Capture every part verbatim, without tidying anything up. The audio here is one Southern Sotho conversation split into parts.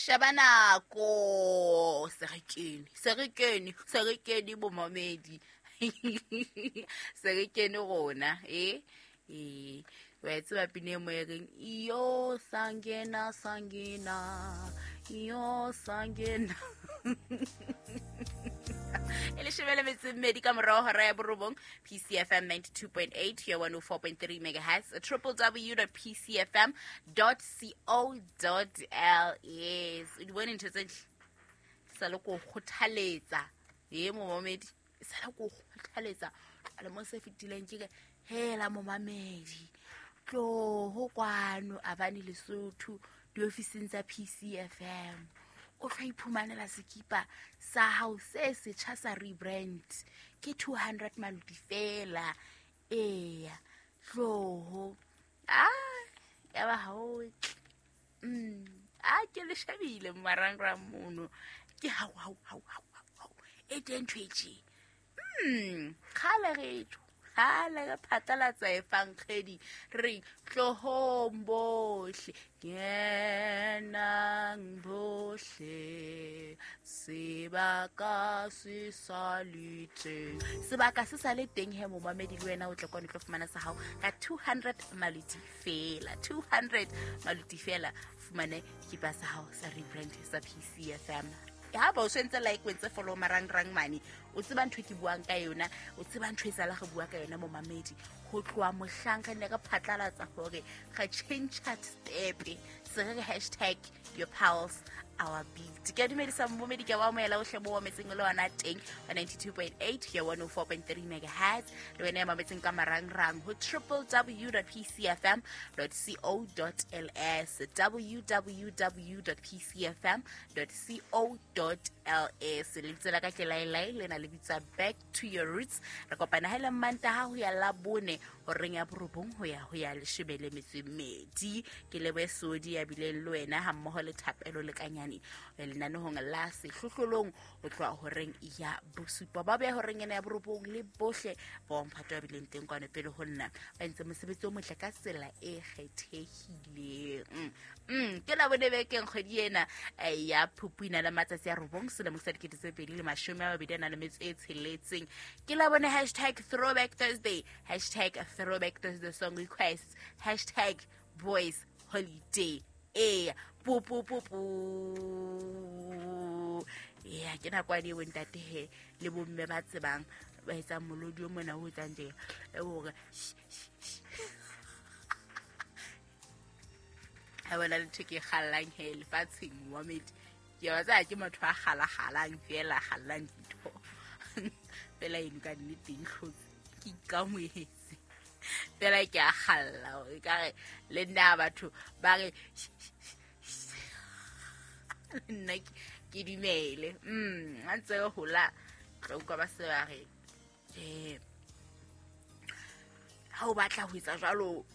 Sheba nako se re kene, se re kene, se re kene bomamedi. Se re kene rona, eh? Eh, wa tseba pina e mo e reng iyo sangena sangena, iyo sangena. E leshome le metso e mmedi ka morao hora ya borobong, P C F M ninety-two point eight, here one oh four point three megahertz, triple w dot p c f m dot co dot l s. O di bone ntho tse ntle? Sa le ko kgothaletsa. E momamedi, sa le ko kgothaletsa. Le mo se fetileng ke re hela momamedi, tloho kwano Avani Lesotho diofising tsa P C F M. O tla iphumanela sekipa sa hao se setjha sa rebrand ke two hundred maluti fela. Eya, tloho. Ah, ya ba hao. Mm, ah ke le shebile marangrang mono. Ke hao hao hao hao hao. E teng ntho e tje. Mm, kgale re tjo. Kgale re phatlalatsa efankgedi re tlohong bohle, kenang bohle, sebaka se sa le teng. Sebaka se sa le teng he momamedi, le wena o tle kwano o tlo fumana sa hao ka two hundred maluti fela, two hundred maluti fela, fumane kipa sa hao sa rebrand sa P C F M. Ha ba o sentse like o ntse follow marangrang mane, o tseba ntho e ke buang ka yona, o tseba ntho e sala re bua ka yona momamedi. Ho tloha mohlang re ne re phatlalatsa hore re change step, se re hashtag your pulse our beat. Ke a dumedisa momamedi, ke wa amohela ohle mo mametseng le ona teng wa ninety-two point eight here one oh four point three megahertz, le wena ya mametseng ka marangrang ho triple w dot p c f m dot co dot l s, w w w dot p c f m dot co dot l s. Lebitso la ka ke Lailai, le na le bitsa Back to Your Roots. Re kopana ha le Mantaha ho ya Labone horeng ya borobong ho ya ho ya leshome le metso e mmedi. Ke lebohe Sodi ya bileng le wena ha mmoho le Thapelo le Kanyane lenanehong la sehlohlolong ho tloha horeng ya bosupa. Ba beha horeng ena ya borobong le bohle ba mphato ya bileng teng kwano pele ho nna, ba entse mosebetsi o motle ka tsela e kgethehileng. Mm, ke Labone bekeng kgwedi ena ya Phupu ina le matsatsi a robong selemo sa dikete tse pedi le mashome a mabedi a nang le metso e tsheletseng. Ke Labone hashtag Throwback Thursday, hashtag Throwback Thursday song requests, hashtag Boys Holiday. E pu pu pu pu. Ya ke nako ane bo ntate he le bomme ba tsebang ba etsang molodi o mona o etsang tje e hore ha bona le ntho ke kgallang he lefatsheng momamedi. Ke wa tsaya ke motho a kgalakgalang fela, kgallang dintho fela eno ka nnete ntlhotse ke ikamohetse fela ke a kgalla hore ekare le nna batho ba re nna ke dumele. Mm, ha ntse re hola tla utlwa ba se ba re eh ha o batla ho etsa jwalo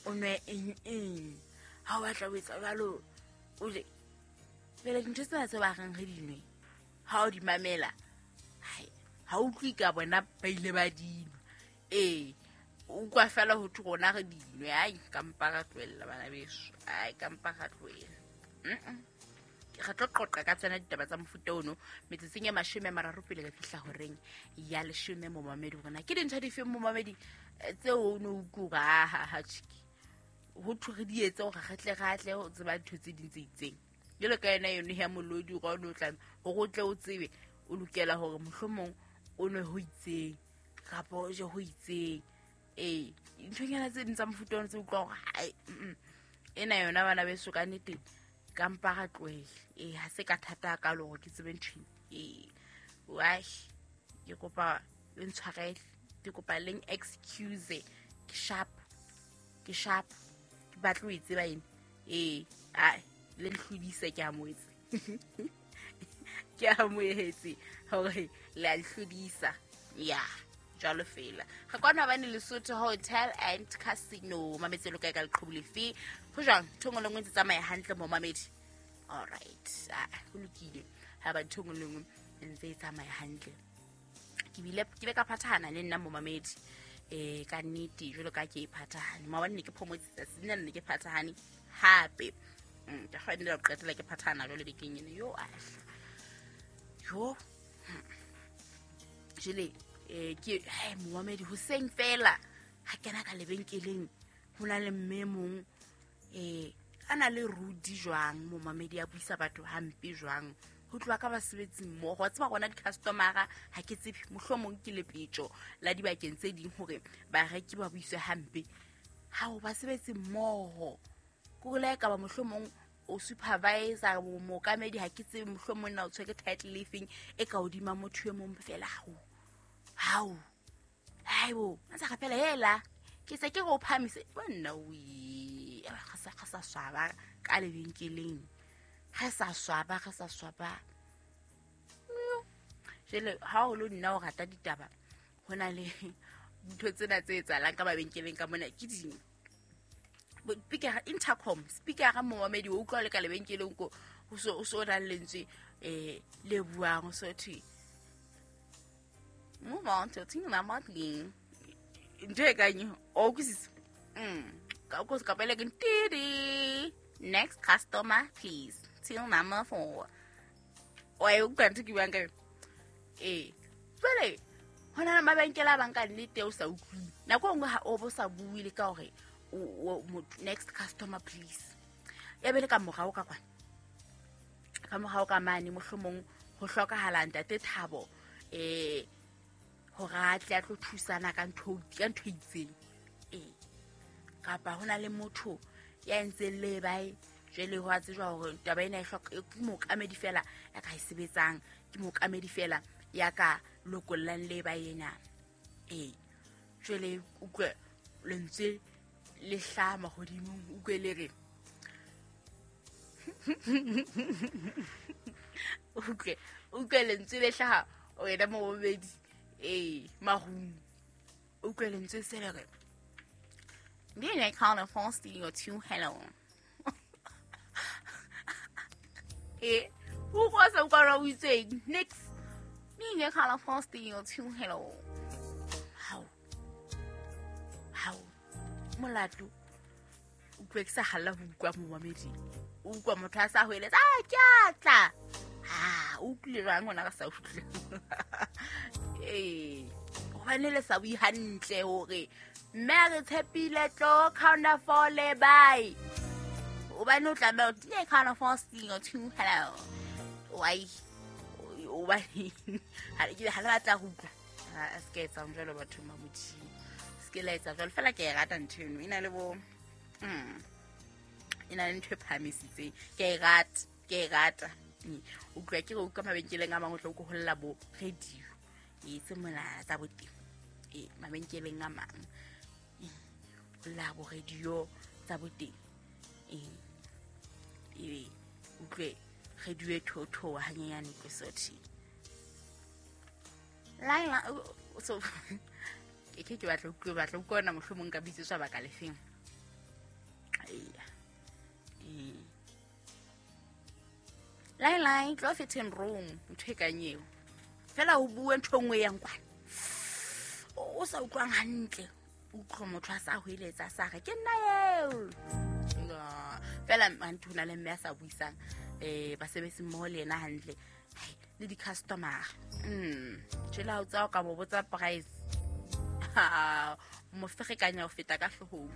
o nwe eng eng, ha o batla ho etsa jwalo o je. Fela dintho tsena tse ba reng re di nwe ha o di mamela, ha o utlwe ka bona ba ile ba dinwa. Ee, o utlwa fela ho thwe rona re di nwe. Ai, ka mpa ra tlohella bana beso, ai ka mpa ra tlohella. Mm-mm. Re tlo qoqa ka tsena ditaba tsa mofuta ono metsotsong e mashome a mararo pele re fihla horeng ya leshome momamedi. Rona ke dintho dife momamedi tseo o no utlwa ha ha ha tjiki ho thwe re di etse hore re tle re atle ho tseba dintho tse ding tse itseng. Jwalo ka yona yone ya molodi o no tla hore o tle o tsebe o lokela hore mohlomong o nwe ho itseng kapa o je ho itseng. Ee, dinthonyana tse ding tsa mofuta ono tse utlwa hore hai ena yona bana beso ka nnete ka mpa ra tlohele. Ee, ha se ka thata hakalo hore ke tsebe ntho ena. Ee, wai ke kopa le ntshwarele, ke kopa leng excuse. Ke sharp, ke sharp, ke batla ho e tseba ena. Ee, ai le nhlodise ke amohetse. Ke amohetse hore le a nhlodisa. Ya jwalo fela. Re kwana bane Lesotho Hotel and Casino. Mametse lo kae ka leqhubu lefe? Ho jwang? Ntho e nngwe le nngwe ntse tsamaya hantle momamedi. All right. Ah, ho lokile. Ha ba ntho e nngwe le nngwe ntse e tsamaya hantle. Ke bile ke be ka phathahana le nna momamedi. Eh ka nnete jwalo ka ke e phathahane. Maobane ne ke phomotse tsatsi lena ne ke phathahane hape. Ke kgone ho qetela ke phathana jwale bekeng ena yo a yo jele eh ke he momamedi hoseng fela ha kena ka lebenkeleng ho na le mme mong eh ana le rudi jwang momamedi a buisa batho hampe jwang ho tloha ka basebetsi mmoho wa tseba rona di-customer-a ha ke tsebe mohlomong ke lepetjo la dibakeng tse ding hore bareki ba buiswe hampe ha o basebetsi mmoho ko le ka ba mohlomong o supervisor mookamedi ha ke tsebe mohlomong na o tshwere title e feng e ka hodima motho e mong fela hao hao haibo ntse ga fela hela ke se ke go phamise nna o ga sa ga sa swaba ka lebenkeleng ga sa swaba ga sa swaba jele ha o lo nna o rata ditaba ho na le ntho tsena tse etsahalang ka mabenkeleng ka mona ke ding speaker intercom speaker ga momamedi o utlwa le ka lebenkeleng ko o so o so na le lentswe eh le buang o so thwe move on to thing na matling ntho e kang o kusisa mm ka ko ka pele ke tidi next customer please till number four o e utlwa ntho ke buang ka eh jwale hona le mabenkele a bang ka nnete o sa utlwe nako e nngwe ha o bo sa bue le ka hore next customer please ya be le ka morao ka kwana ka morao ka mane mohlomong ho hlokahala ntate Thabo eh hore a tle a tlo thusana ka ntho ka ntho e itseng eh kapa hona le motho ya entseng le bae jwale ho a tsejwa hore taba ena e hloka ke mookamedi fela ya ka e sebetsang ke mookamedi fela ya ka lokollang le ba ena eh jwale utlwe lentswe le hlama hodimong utlwe le re utlwe utlwe lentswe le hlaha wena momamedi eh marung utlwe lentswe se le re Bien call phone your two hello eh o go sa utlwa o itseng next me call phone your two hello how how molato utlwe ke sa halla ho utlwa momamedi o utlwa motho a sa hoeletsa a ke a tla ha o utlwile jwang hona ka sa utlwe eh hobane le sa bue hantle hore mme a re tshepile tlo counter four le bye hobane o tlameha o tile counter four single two hello why hobane ha ke ha le batla ho utlwa a se ke etsang jwalo batho ba Modimo se ke la etsa jwalo fela ke e rata ntho eno e na le bo mm e na le ntho e phahamisitseng ke e rata ke e rata utlwa ke re utlwa mabenkeleng a mang o tla o holla bo radio e tse mona tsa boteng e mabenkeleng a mang holla bo radio tsa boteng e e utlwe radio e thothoa hanyenyane ke sothi laila so ke ke ke batla utlwe batla utlwa mohlomong ka bitsetswa baka lefeng eya eh lai lai tlo fitting room ntho e kang eo fela o bue ntho nngwe yang kwana o sa utlwang hantle utlwe motho a sa hoeletsa a sa re ke nna eo fela ntho na le mme a sa buisang eh basebetsi mmoho le yena hantle le di-customer mm tjela ha o tsa o ka mo botsa price mo ferekanya ho feta ka hloohong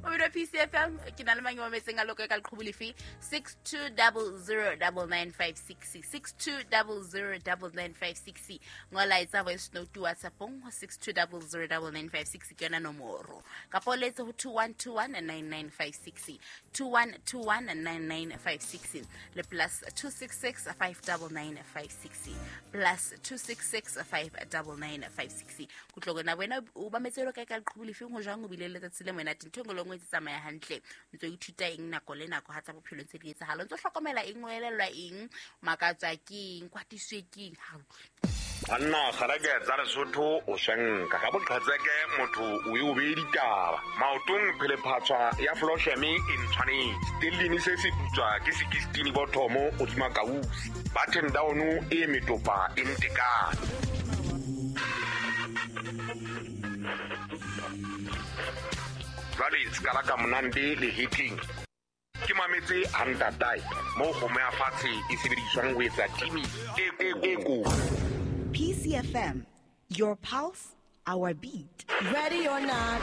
Mobile P C F M ke na le mang wa metseng a loko ka leqhubu lefe six two zero zero nine nine five six six two zero zero nine nine five six ngola etsa voice note WhatsApp-ong ho six two zero zero nine nine five six ke yona nomoro kapa o letse ho two one two one nine nine five six two one two one nine nine five six le plus two six six five nine nine five six plus two six six five nine nine five six kutloko na wena o ba metse ka ka leqhubu lefe ho jwang o bile letsatsi le wena ntho engwe le nngwe tse tsamaya hantle ntse o ithuta eng nako le nako ha tsa bophelo ntse di etsahala ntse o hlokomela eng o elellwa eng makatswa ke eng kwatiswe ke eng ha utlwe banna kgareke tsa Lesotho o shenka ka boqhetseke motho o e o beye ditaba maotong phelephatswa ya flosheme e ntshwanetse stellini se se putswa ke sixteen bothomo hodima kausi button down e metopa e ntekane jwale se ka la ka monande le hitting ke mametse ha ntatae moo kgomo ya fatshe e sebediswang ho etsa timi e e ko. P C F M, your pulse, our beat. Ready or not,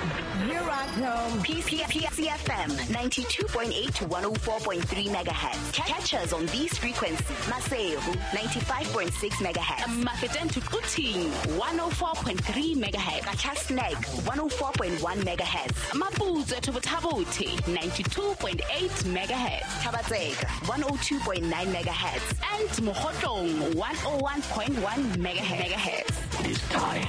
here I come. P C F M ninety-two point eight to one oh four point three megahertz. Catch us on these frequencies. Maseru ninety-five point six megahertz. Mafeteng to Quthing one oh four point three megahertz. Qacha's Nek one oh four point one megahertz. Maputswe to Botha-Bothe ninety-two point eight megahertz. Thaba-Tseka one oh two point nine megahertz. And Mokhotlong one oh one point one megahertz. It is time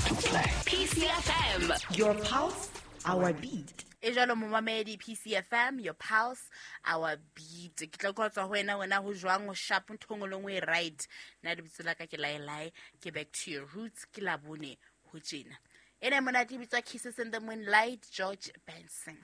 to play. P C F M, your pulse, our beat. E jwalo momamedi, P C F M, your pulse, our beat. Ke tla go tswa ho wena, wena ho jwang, ho sharp, ntho nngwe le nngwe e right. Nna lebitso la ka ke Laelae, ke back to your roots, ke Labone ho tjena. Ena e monate e bitswa Kisses in the Moonlight, George Benson.